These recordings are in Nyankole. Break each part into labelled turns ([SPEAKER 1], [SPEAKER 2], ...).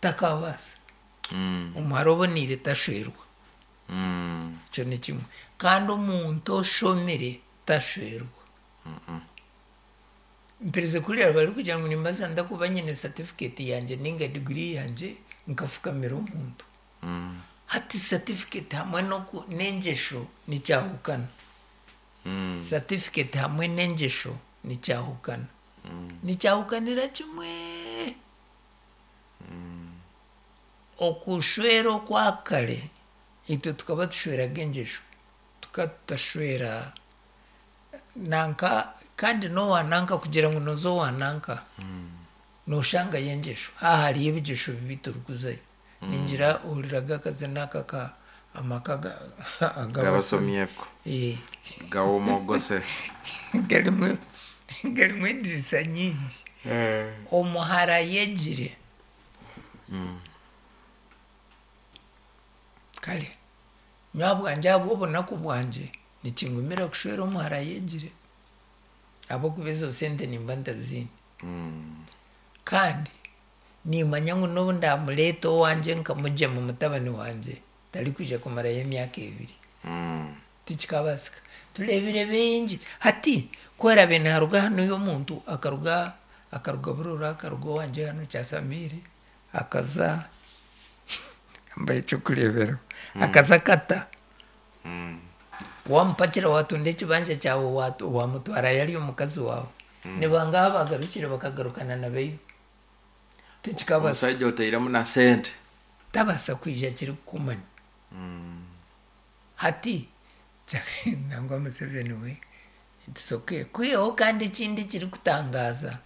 [SPEAKER 1] Takabaasa. Omuhara oboneire tashwerwa. Ekyo ni kimwe. Kandi omuntu oshomire tashwerwa. Mperize kuhurira barikugira ngu nimbaasa nta kuba nyine certificate yangye ninga degree yangye nkafukamira omuntu. Hati certificate hamwe n'engyesho nikyahukana. Certificate hamwe n'engyesho nikyahukana. Nikyahukanira kimwe. Okushwera okwa kare, itwe tukaba tushweraga engyesho, tukaba tutashwera nanka kandi n'owa nanka kugira ngu nooza owa nanka, nooshangayo engyesho. Haaha hariyo ebigyesho bibi torikuzayo. Ningira ohuriraga akazina aka aka amaka ag'abasomi.
[SPEAKER 2] G'abasomi ako. Gawomogose.
[SPEAKER 1] Garimu garimu endirisa nyingi. Omuhara ayegire. Kare nyowe ahabwangye ahabw'obunaku bwangye nikingumira kushwera omuhara ayegire ahabw'okuba ezo sente nimba ntaziine. Kandi nimanya ngu n'obu ndaamureeta owangye nkamugyema mutabani wangye tarikwija kumarayo emyaka ebiri. Tikikabaasika. Tureebire baingi. Hati ku oraabe naaruga hanuya omuntu akaruga akaruga Burora akaruga owangye hanu Kyasamiire akaza mbahe eky'okureeberaho akaza Kata waamupakira waatunda ekibanja kyawe waamutwarayo ari omukazi waawe nibangahi abaagarukire bakagarukana na baibo? Tikikabaasika.
[SPEAKER 2] Omushaija otairemu na sente.
[SPEAKER 1] Tabaasa kwija akirikukumanya. Hati nangwa Museveni we it's okay. Kwihaho kandi ekindi ekirikutangaaza,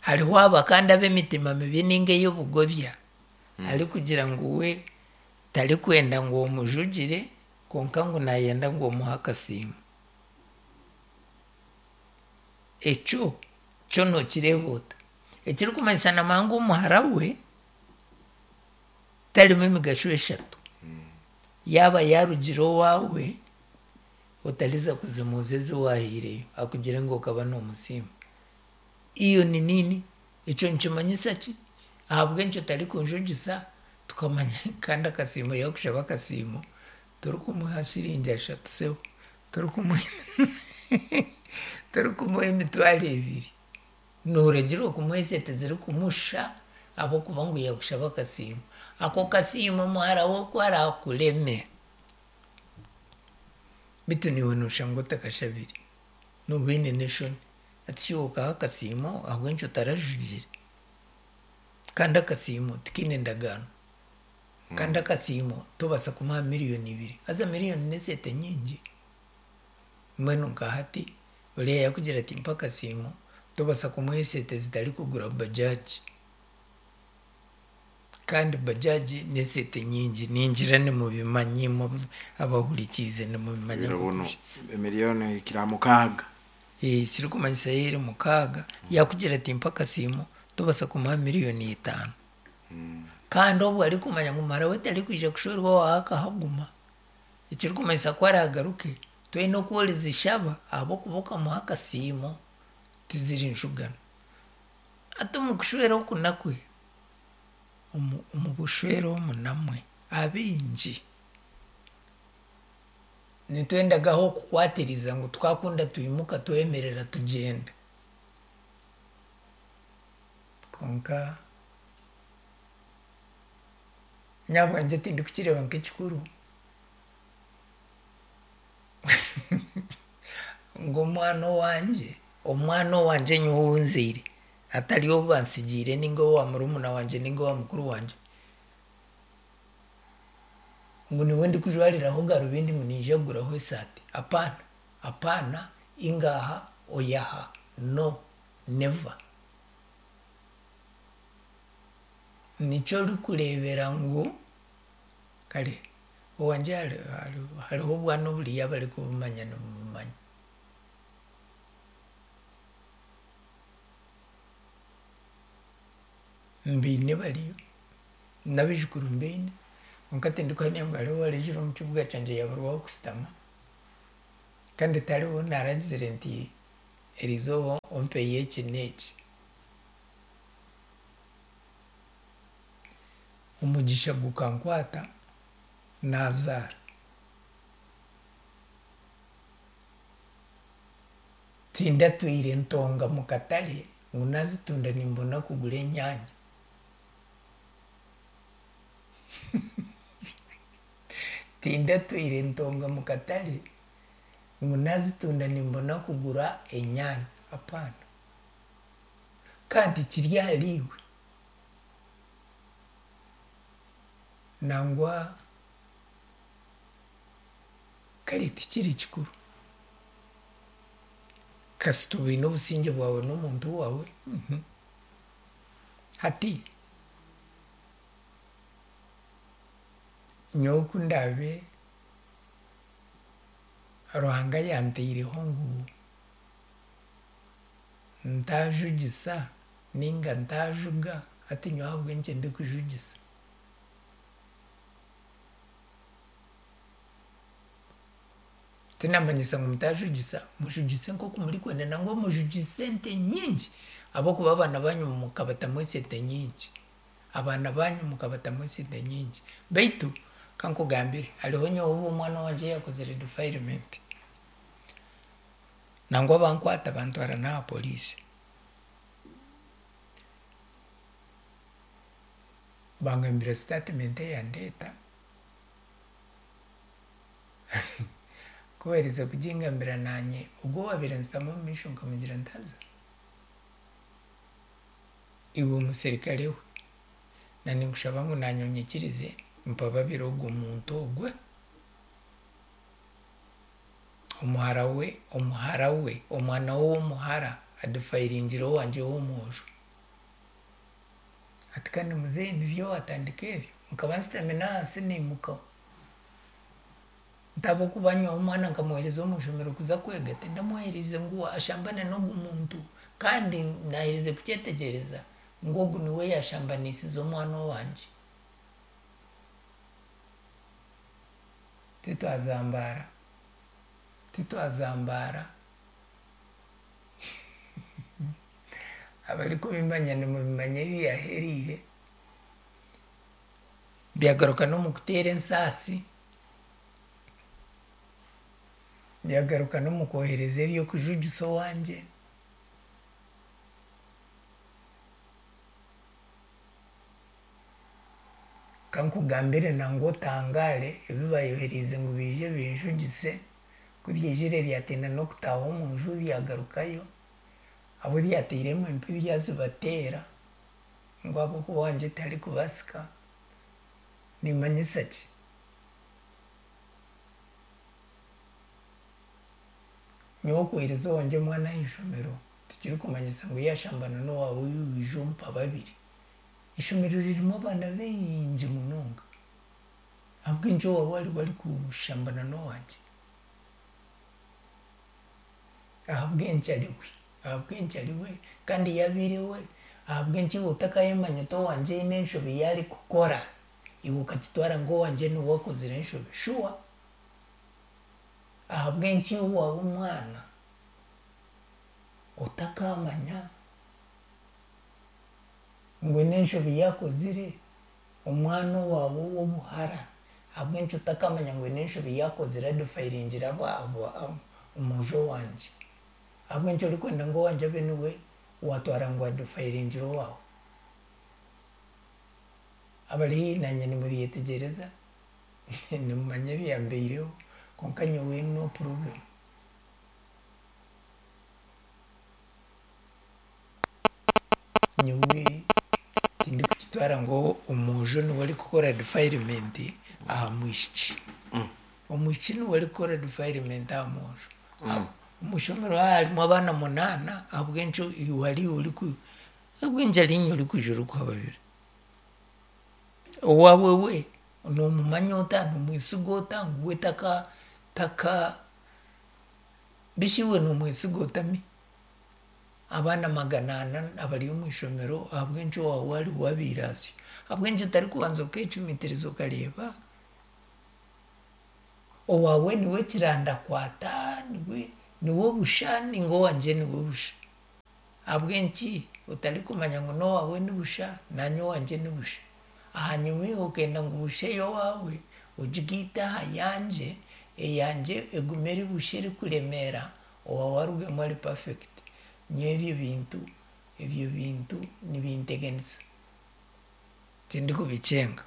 [SPEAKER 1] hariho aba kandi ab'emitima mibi ninga ey'obugobya arikugira ngu we tarikwenda ngu omujugire kwonka ngu nayenda ngu omuhe akasiimo. Ekyo kyo nokireeba ota? Ekirikumanyisa namanya ngu omuhara we tarimu emigasho eshatu. Yaaba yaarugire owaawe, otariza kuzimuuza ezi waahaireyo akugire ngu okaba noomusiima. Iyo ni nini? Ekyo nikimanyisa ki? Ahabw'enki otarikunjugisa tukamanya kandi akasiimo yaakushaba akasiimo torikumuha shiringi ashatu sebo, torikumuha emitwaro ebiri. Nooragirwa kumuha esente zirikumusha ahabw'okuba ngu yaakushaba akasiimo. Ako kasiimo muhara we ku araakureme, beitu naiwe nooshanga otakashabire, nooba oine n'eshoni. Hati shi iwe okaha akasiimo ahabw'enki otarajugire? Kandi akasiimo tikaine ndagaano. Kandi akasiimo tobaasa kumuha miriyoni ibiri, haza miriyoni n'esente nyingi. Mbwenu nka hati Oriya yakugira ati mpa akasiimo, tobasa kumuha esente zitarikugura bajaji. Kandi bajaji n'esente nyingi, ningira nimubimanya imwe abahurikiize nimubimanya
[SPEAKER 2] Biro
[SPEAKER 1] nk'oku
[SPEAKER 2] bunu
[SPEAKER 1] biri.
[SPEAKER 2] emiliyoni ehikire aha mukaaga.
[SPEAKER 1] Ekirikumanyisa yo eri mukaaga, yakugira ati mpa akasiimo, tobasa kumuha miriyoni itaano. Kandi obwo arikumanya ngu muhara we tarikwija kushwerwa owaawe akahaguma. Ekirikumanyisa ku araagaruke, toine oku orizishaba ahabw'okuba okamuha akasiimo, tiziri njugano. Hati omu kushwera oku nakwe, omu bushwere omu namwe, abaingi nitwenda ah'okukwatiriza ngu twakunda twimuka twemerera tugyenda. Kwonka nyowe ahabwangye tindikukireeba nk'ekikuru. Ngu omwana owangye, omwana owangye nyowe ou nzaire atari ou bantsigiire ninga owa murumuna wangye ninga owa mukuru wangye, ngu niwe ndikujwariraho garubindi ngu niija kuguraho esaati, apaana, apaana, ingaaha, oyaha, no, never. Nikyo orikureebera ngu Kare owangye hariho obwana oburiyo abarikubumanya nibumumanya. Mbaine bariyo, n'abaijukuru mbaine kwonka tindikuhamya ngu hariho owaraijire omu kibuga kyangye yaaburwa ah'okushutama kandi tihariho ou naaragizire nti eriizooba ompeyo eki n'eki. Omugisha gukankwata naazaara. Tindatwire ntonga mu katare ngu naazitunda nimbona kugura enyaanya. Tindatwire ntonga mu katare ngu naazitunda nimbona kugura enyaanya, apaana. Kandi kiri ahariiwe. Nangwa kare tikiri kikuru. Kasita oba oine obusingye bwawe n'omuntu waawe. Hati nyowe ku ndaabe Ruhanga yantaireho ngu ntaajugisa ninga ntaajuga, hati nyowe ahabw'enki ndikujugisa? Tinamanyisa ngu mutaajugisa, mujugise nk'oku murikwenda nangwa mujugise ente nyingi ahabw'okuba abaana baanyu mukabatamu esente nyingi. Abaana baanyu mukabatamu esente nyingi. Beitu kankugambire, hariho nyowe obu omwana wangye yaakozire defilement, nangwa bankwata bantwara n'aha poliisi. Bangambira statement eyandeeta, ku baaherize kugingambira naanye ogwo owaabaire anshutami omu maisho nkamugira nti haza iwe omuserikare we, na ninkushaba ngu naanye onyikirize mpababire ogwo muntu ogwe. Omuhara we, omuhara we, omwana we ow'omuhara adefiringire owangye ow'omwojo. Ati kandi muzeeyi niryo waatandika eryo? Nkaba nshutami n'ahansi naimukaho. Nti ahabw'okuba nyowe omwana nkamuheereza omu ishomero kuza kwega, tindamuheerize ngu ashambane n'ogu muntu. Kandi naaherize kukyetegyereza ngu ogu niwe yaashambanisize omwana owangye. Titwazambaara, titwazambaara. Abarikubimanya nimubimanya ebi byahereire. Byagaruka n'omu kuteera ensaasi, byagaruka n'omu kwohereza eby'okujugisa owangye. Kankugambire nangwa otangaare ebi bayohereize ngu biije binjugise, ku byaizire byatinda n'okutaaha omu nju byagarukayo, abu byateiremu empi byazibateera ngu ahabw'okuba owangye tiharikubaasika, nimmanyisa ki? Nyowe okwohereza owangye omwana aha ishomero tikirikumanyisa ngu yaashambana n'owaawe iwe oije ompa babiri. Eishomero ririmu abaana baingi munonga. Ahabw'enki owaawe ariwe arikushambana n'owangye? Ahabw'enki ariwe? Ahabw'enki ariwe? Kandi yaabaire we, ahabw'enki iwe otakayemanya oti owangye haine enshobe ei arikukora, iwe okakitwara ngu owangye niwe akozire enshobe? Shuwa? Ahabw'enki iwe owaawe omwana otakamanya ngu haine enshobe ei akozire? Omwana owaawe ow'obuhara ahabw'enki otakamanya ngu haine enshobe ei akozire adefiringire omwojo wangye? Ahabw'enki orikwenda ngu owangye abe niwe waatwara ngu adefiringire owaawe? Abari haihi naanye nimubyetegyereza, nimumanya ebyambaireho kwonka nyowe no problem. Nyowe tindikukitwara ngu omwojo niwe arikukora defilement aha mwishiki. Omwishiki niwe arikukora defilement aha mwojo. Omu ishomero haaba harimu abaana munaana, ahabw'enki iwe ari iwe oriku ahabw'enki ari inye orikwija orikuhababira? Owaawe we noomumanya ota, noomwesiga ota ngu we taka taka bishi iwe noomwesiga ota mi? Abaana magana ana abari omu ishomero ahabw'enki owaawe ariwe abaire asyo? Ahabw'enki otarikubanza okeecumitiriza okareeba owaawe niwe kirandakwata, niwe niwe busha nainga owangye niwe busha? Ahabw'enki otarikumanya ngu n'owaawe ni busha naanye owangye ni busha? Ahanyima iwe okenda ngu busha ey'owaawe ogigaite aha yangye, eyangye egume eri busha erikuremeera, owaawe arugemu ari perfect. Nyowe ebyo bintu, ebyo bintu nibinteganisa. Tindikubikyenga.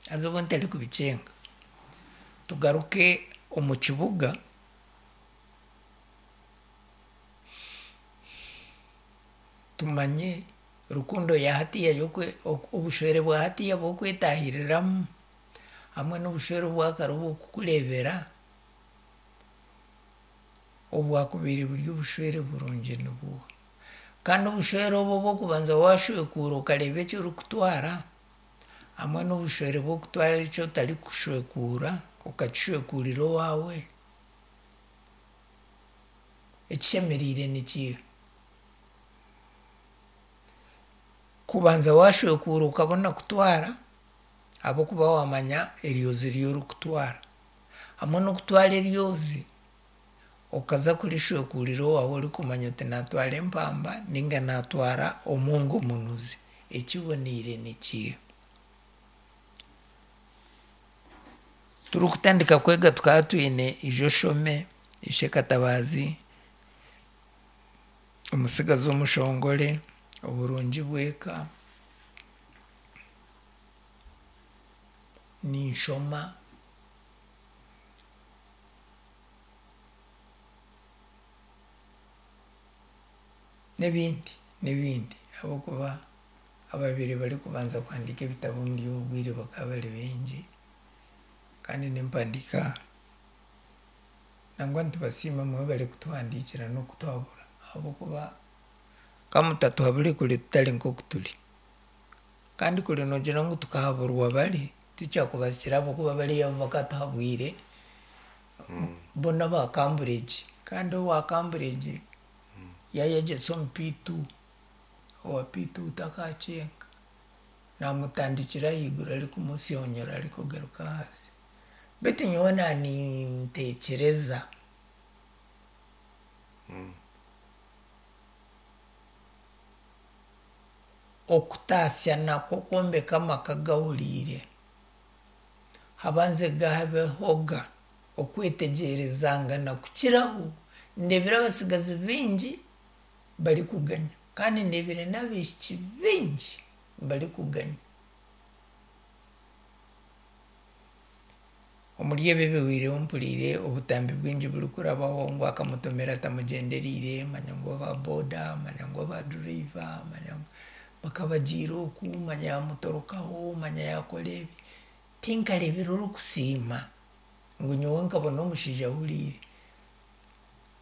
[SPEAKER 1] Haza obu ntarikubikyenga, tugaruke omu kibuga. Tumanye rukundo ya hatiiya obushwere bwa hatiiya bw'okwetahiriramu hamwe n'obushwere obwa kare obw'okukureebera obwakubaire buri obushwere burungi nibuuha? Kandi obushwere obu obw'okubanza waashwekuura okareeba eki orikutwara hamwe n'obushwere bw'okutwara eki otarikushwekuura okakishwekuurira owaawe, ekishemereire nikiiha? Kubanza waashwekuura okabona kutwara ahabw'okuba waamanya eryozi ry'orikutwara. Hamwe n'okutwara eryozi okaza kurishwekuurira owaawe orikumanya oti naatwara empamba nainga naatwara omwongo munuzi. Ekiboneire nikiiha? Turikutandika kwega tukaba twine Ija Oshome, Ishe Katabaazi, Omutsigazi Omushongore, Oburungi bw'Eka, Ninshoma. N'ebindi n'ebindi ahabw'okuba ababaire barikubanza kuhandiika ebitabo omuri obu bwire bakaba bari baingi kandi n'empandiika nangwa nitubasiima mwebare kutuhandiikira n'okutuhabura ahabw'okuba ka mutatuhabure kuri tutari nk'oku turi. Kandi kuri noogira ngu tukahaburwa bari, tikyakubasikire ahabw'okuba bariya bo bakatuhabwire bo n'aba Cambridge kandi owa Cambridge yaayegyesa omu P2, owa P2 takakyenga. Naamutandikira ahaiguru arikumusyonyora arikugaruka ahansi. Beitu nyowe naaninteekyereza. Okutaasya nakwo kwombeka amaka gahuriire, habanze habehoga okwetegyerezangana kukiraho. Ndeebire abatsigazi baingi barikuganya kandi ndeebire n'abaishiki baingi barikuganya. Omuri ebi ebihweireho mpuriire obutambi bwingi burikurabaho ngu akamutomera atamugyendereire, manya ngu aba boda, manya ngu aba duriva, manya ngu bakabagiire oku, manya yaamutorokaho, manya yaakora ebi. Tinkareebire orikusiima ngu nyowe nkabona omushaija ahuriire.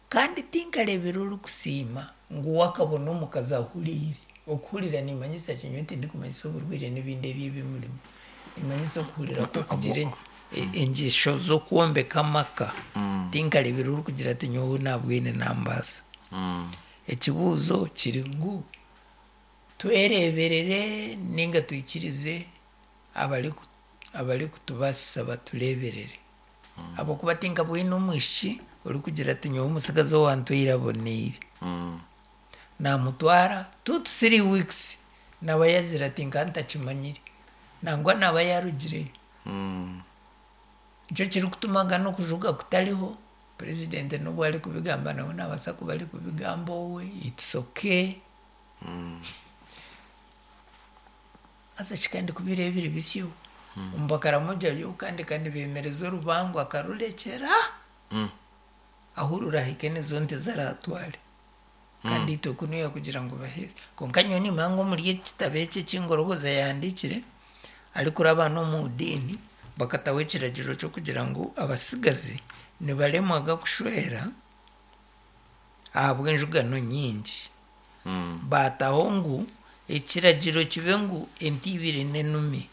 [SPEAKER 1] Kandi tinkareebire orikusiima ngu we akabona omukazi ahuriire. Okuhurira niimanyisa ki? Nyowe tindikumanyisa oburwaire n'ebindi ebi ebimurimu. Niimanyisa okuhurira kw'okugira engyesho z'okwombeka amaka. Tinkareebire orikugira ati nyowe nabwine nambaasa. Ekibuuzo kiri ngu twereeberere nainga twikirize abarikutubaasisa batureeberere? Ahabw'okuba tinkabwine omwishiki orikugira ati nyowe omutsigazi owantwaire aboneire. Naamutwara two to three weeks naaba yaazire ati nkaba ntakimanyire. Nangwa naaba yaarugireyo. Nikyo kirikutuma ga n'okujuga kutariho, purezidenti n'obu arikubigamba nawe naabaasa kuba arikubigamba owe, it's okay. Haza shi kandi ku biriba biri bisyo, omu Bakaramoja yo kandi ka nibeemereza orubango akarurekyera ahu rurahike nizo nte ziraatware. Kandi itwe kunuya kugira ngu baheeze. Kwonka nyowe niimanya ngu omuri eki kitabo eki eki Ngorogoza yaahandiikire, arikuraba n'omu diini, bakataho ekiragiro ky'okugira ngu abatsigazi nibaremwaga kushwera ahabw'enjugano nyingi. Baataho ngu ekiragiro kibe ngu ente ibiri n'enumi.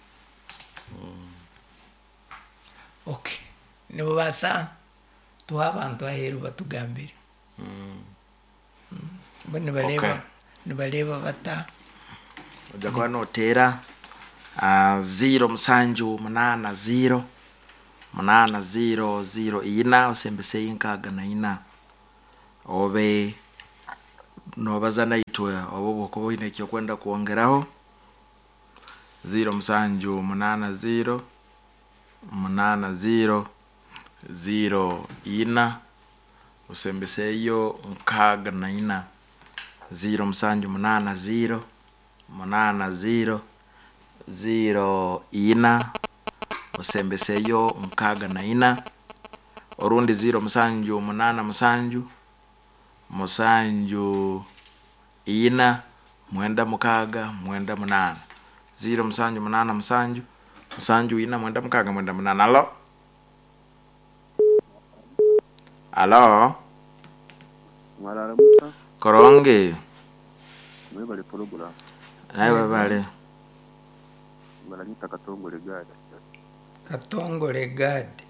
[SPEAKER 1] Okay, nibabaasa tuhe abantu aheeru batugambire. Bo nibareeba
[SPEAKER 2] Okay.
[SPEAKER 1] nibareeba bata?
[SPEAKER 2] Ojja kuba noteera ziiro musanju munaana ziiro munaana ziiro ziiro ina osembeseyo enkaaga na ina obe nobaza naitwe oba obwokuba oine eki orikwenda kwongeraho. 07 80 80 0 ina osembeseyo 64 0 7 8 0 8 0 0 ina osembeseyo 64 orundi 0 7 8 7 7 ina 9 6 9 8 0 7 8 7 7 ina 9 6 9 8. Alo, alo.
[SPEAKER 3] Mwararamuka.
[SPEAKER 2] Koronge.
[SPEAKER 3] Mwebale program.
[SPEAKER 2] Nawe bale.
[SPEAKER 3] Baranyita Katongole Gadi.
[SPEAKER 1] Katongole Gadi.